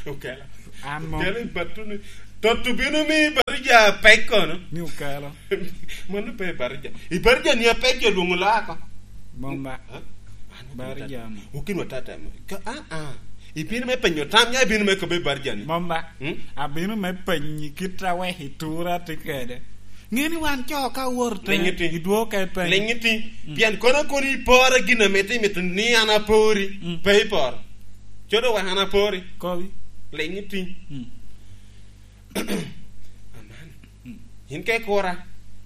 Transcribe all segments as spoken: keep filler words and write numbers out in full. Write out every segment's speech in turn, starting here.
Okelo. An mo. Okelo i batuni. Toto bino mi Ibarija pek kono. Ni okelo. Mano pe Ibarija. Ibarija ni apek jo lwongo laa ko. Mom ba. Ha? An Ibarija mo. Ukin wa tata mo. Ka, ah, ah. Ibino me penyo tam, ya ibino me kobe Ibarija ni. Mom ba. Hmm? Abino me penyi kit a wek itura tye kede. Ngeni wan co ka wor te, Liŋ iti. Idwoko ka ipenyo. Liŋ iti. Mm. Pien kono kono iporo gin ame ti mito ni an apori. Mm. Pe iporo. Codo wek an apori. Kobi. Liŋ iti. Mm. Aman. Mm. In ke kura.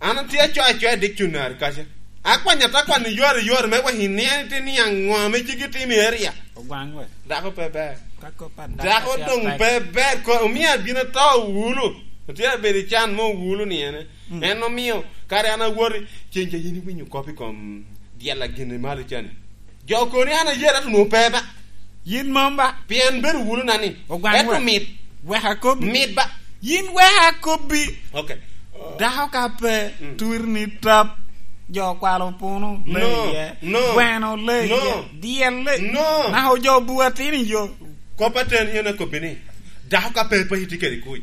An atye acoya acoya dictionary kaca. Akwanya ta kwani yor yor me wek inen ti ni aŋo ame cik itimo i area. Ogwaŋ we. Dako pe ber. Ka kop a dako Dako atye doŋ atek. Pe ber ko, omio abino to wulu. Otye abedo i can mo wulu ni ene. Mm. En omio, kare an awoti, cen ca yin iwinyo kop i kom dyel a gin i malo cani. Jo koni an ayera to nwoŋo pe ba. Yin mom ba. Pien bedo wulu na ni. Ogwaŋ Ento wek. Mit. Wek akobbi. Mit ba. Yin wek akobbi. Ok. Dako ka pe, Mm. Tur ni tap, jo kwalo puno, No, le iye. No. Gweno, le No. Iye. Dyel, le. No. Nako jo bua tini yo. Kop aten yen akobbi ni, dako ka pe paci tye kede kuc.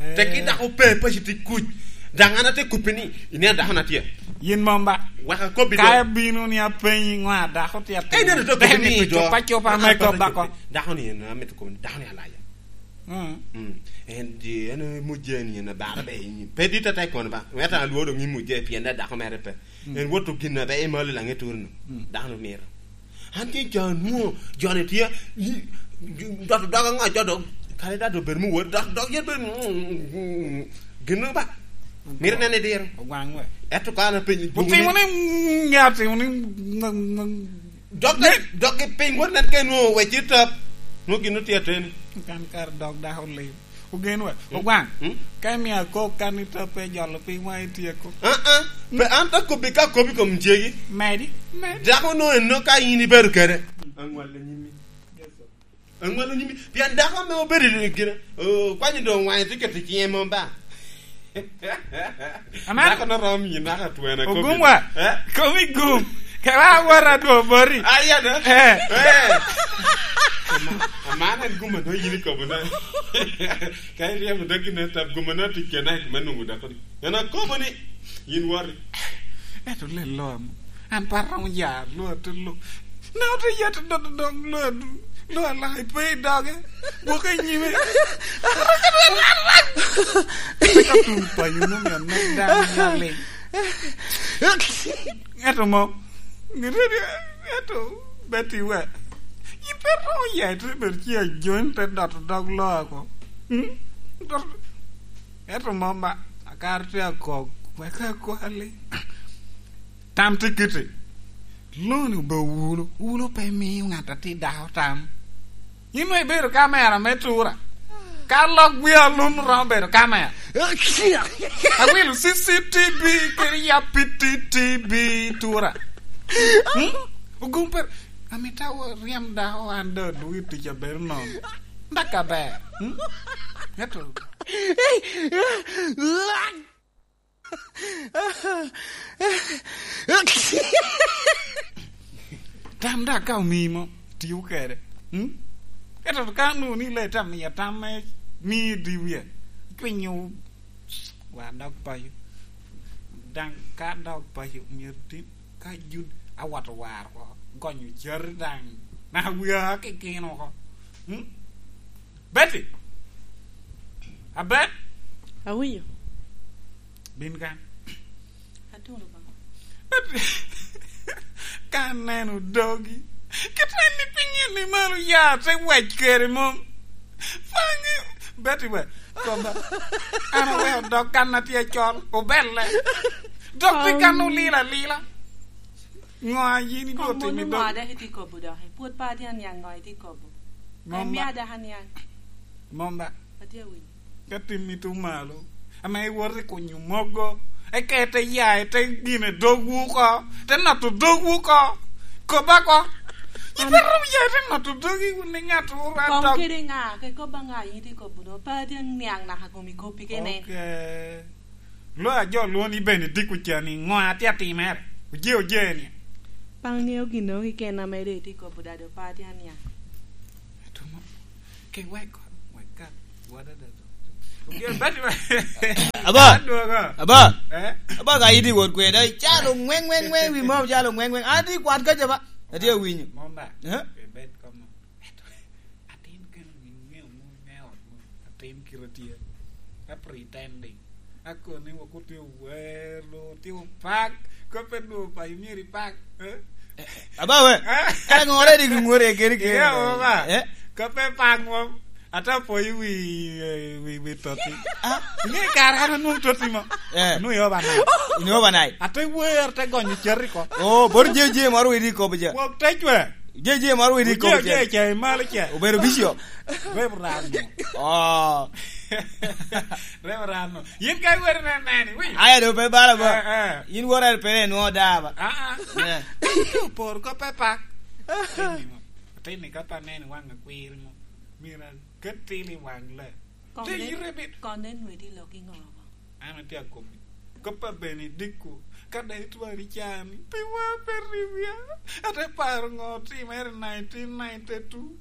Eh. Teki dako pe paci tye kuc. Daŋ an atye kubbi ni, inen dako na tye. Yin mom ba. Wek akobbi Ka do. Abino ni apenyi ŋo a dako tye atin. Eh, neno to kubbi ni Deni do. Copa copa me kop bako. Dako ni en amito kubbi ni, dako ni alaya. Mm. Mm. En di, en mujje ni en abara be in. Pe dit ata i kono ba. Weta alwo doŋ i mujje pien da dako mere pe. Mm. En woto gin na be i malo laŋe turno. Mm. Dako ni miro. An tye jo anwoŋo, jo-ni tye, i, i, dot dog aŋo, jo dog, kare da dog bedo muwot, dot dog yen bedo, mm, mm, mm, gin ba. Mito nene diro. Ogwaŋ we. Ento ka an apenyi, Otimo ni, mm, ya otimo ni, mm, mm, Dok, dok ki piny wot nen ka inwoŋo wec i tap, nwoŋo gin otye ateni. Kan kare dog dako lim. Ogen wa, Mm. Ogwaŋ. Mm. Ka imio akok kan i tap pe jolo piny wa ityeko. Ah, ah. Pe an ta kobbi ka kobbi kom cegi. Medi, medi. Dako no eno ka in ibedo kede. Aŋwal anyimi. Aŋwal anyimi. Pien dako ame obedo i gina, oh, kwanyo doŋ waŋe tye keto ciŋe mom ba. Aman. Dako no rom yi naka twena kobbi. Ogum wa. Eh? Komi gum. Kela awara dwo bori. Ah, iya da. Eh. Eh. Ama-, aman en gum ano yini kobo na. Ka iriemo daki ne tap gum ano tikena me nungu dako ni. En akobo ni, yin wari. Eto le lo amo. An pe aromo ya lwak te lok. Na ote ya te dodo dog lwak, lwak alaka ipe i doge. Gwok i nyime. Ka tum payo nongo ya nek dano ya ling. Eto mo. Eto Betty we. Ipe romo ya ite bedo ci ajony te doto dog lwak ako. Hmm? Doto. Eto mo ma akar tye akok. Wek akwali. Tam tye kiti. Loni obedo wulu. Wulu pe miyo ŋat atir dako tam. Yin onwoŋo ibedo kamera me tura. Ka lok gwi alum romo bedo kamera. Awilo C C T V kede ya P T T V tura. Hmm? Ogum per-, amita wo ryem dako an da luwi tic abedo nono. Daka ber. Hmm? Eto. Tam da ka omii mo, tiu kede. Hmm? Eto ka nwoŋo ni le tam, miya tam me mii di wie. Cwinyo wa dog payo. Daŋ ka dog payo, myero tin ka jud awato war oko. Gonyo cati daŋ. Na wia kikino oko. Hmm? Betty! Abet! Awinyo. Bin kan. Atuno ba. Ka aneno dogi, kit en ni piny en ni malo ya te wec kede mom. Fangi, Betty we, koba. An aweko dog kan atye acol, obelle. Dog pi kan olilo alila. Ŋo a yin igo Kom timi wunu ŋo dog? Dok itye kobo dok? Pwod pe atye aniaŋ ŋo itye kobo? Mom ba. Imia dok aniaŋ. Mom ba. Atye awinyo. Ka timmi tye malo, ame iwoto i kunyo mogo, eka ite ya, ite gine dogwu oko, ite noto dogwu oko. Koba oko. Ipe romo ya ite noto dogi wun i ŋat wun Kong dog. Kede ŋa, ke koba ŋa yin itye kobo do? Pe atye aniaŋ naka kom ikoppi kene. Ok. Lo a jo lwongo ni Benedict ocani, ŋo atye atimere? Oje, oje ni. Pe aŋeo ginnoro keken ame doŋ itye kobo da, doŋ pe atye aniaŋ. Atumo. Ke wek Aba. Adwogo. Aba. Eh? Aba ka iti wot kwen, dai, calo ngweng, ngweng, ngweng, wi mom calo ngweng, ngweng. Ati kwat ka jaba. Ati awinyo. Mom ba. Eh? Ibed komo. Eto, atin keno ŋeo mo me ot mo. Atin kiro tye. A pretending. Akoni wok otye wer, lo, otye opak. Kope dwo pa imyero ipak. Eh? Aba we. Eh? Kare ŋore di gi ŋore keri keri. Iya, mom ba. Eh? Kope pak mom. Ate apoyo wi, eh, wi, wi toti. Ah? Inge kare an anwoŋo toti mo. Eh. Anwoŋo i overnight. In overnight? Ate wer, ate gonyo cati ko. Oh, bot je, je moro widi kobo je. Wok te cwe. Je, je moro widi kobo je. Je, je, malo ce. Obedo bicio. Reverend. Oh. Reverend. Yin ka iwer ne neni, wi. Aya do pe bala ba. Eh, eh. Yin wora pe ne nwo da ba. Ah, ah. Eh. Por ko pe pak. Ateni mo. Ateni ka pa neni waŋ akwir mo. Mira. Ket tin i waŋ le. Koŋ Te nen, ire bit. Koŋ nen nwedi lok i ŋo oko? An atye akomi. Kop a Benedicto, ka daŋ itwari can, pi wa pe riwia. Ate paro ŋo otimere nineteen ninety-two.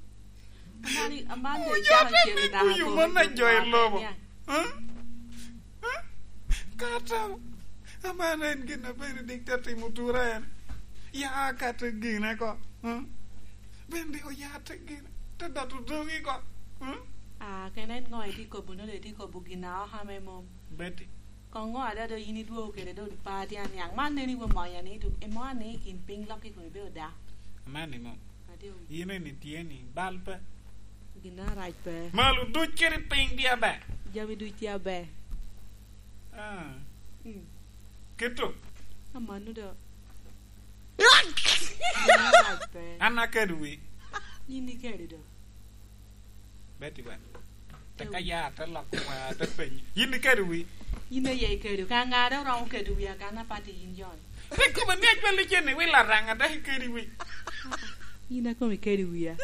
Amani, amani Oyo ijako te cen i niko dako yo kome man na jo i lobo. Niaŋ. Huh? Huh? Kata, amani en gin a Benedicto atimo tura en. Ya kata gine ko. Huh? Bende oyate gin, te dot odoŋ i go. Hmm? Ah, kene en ŋo itye kobo, nongo itye kobo gin a oka me mom? Betty. Koŋ ŋo ada do yin idwogo kede do pa tye aniaŋ. Man neni we monya ni, tu, imo ni i kin piny lok i kome be oda. Aman ni mom. Adi o. Yin eni tye ni, bal pe. Gin arac pe. Malo duc kede piny tye aber. Jami duc tye aber. Ah. Mm. Kito. Amano do. An akedi wi. Yin ikedi do. Betty ba. Teka ya te lok wa te penyo. Yin ikedi wi. Yin aye ikedi. Ka ŋa do romo kedi wi akan apati yin John. Te kobo ni acwal icen ni wi Laraŋ adek ikedi wi. Yin akomi ikedi wiya.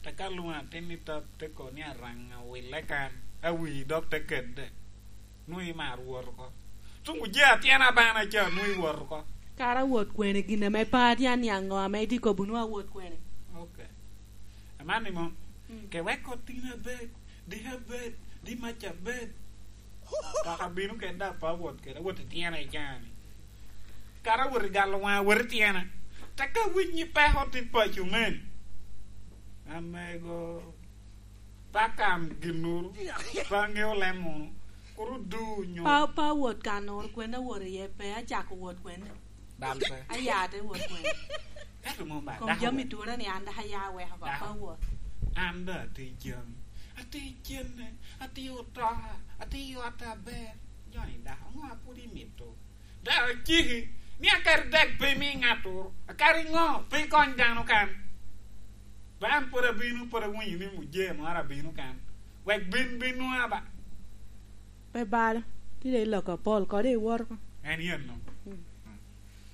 Teka luŋ atin ni tot te ko ni Araŋ awile kan. Awi dok te kedde. Nwoŋo imar wot oko. Tuŋ oje atyena bana ca, nwoŋo iwot oko. Kara awot kwene, gin ame pe atye aniaŋ ŋo ame itye kobo, nwoŋo awot kwene? Ok. Aman ni mom, mm, ke wek otin abed, di abed, di mac abed. Kaka bino kede daŋ pe awot kede, awot i tyena i caa-ni. Kara awot i galo waŋ, awot i tyena. Teka awinyi peko tit paco meni. Amego. Pa kam ginnoro, pa ŋeo lem munu, kur odu nyo. Pa, pa wot kannoro, kwene awot iye pe, acako wot kwene. Dal pe. Aya te wot kwene. Ento mom ba, kom dako jami wot. Tura ni an dok aya weko ba, dako. Pa wot. An da atye jami, atye cene, atye otoka, atye ot aber. Joni dako, ŋo a pwod imito? Dok aciki ni akadi dek pe imi ŋattoro, akadi ŋo pe ikony dano kan. Ba an pwod abino, pwod awinyo ni mujee moro abino kan. Wek bin, bin nwoŋa ba. Pe balo, tye dok lok apol kodi iwot oko. En yen no.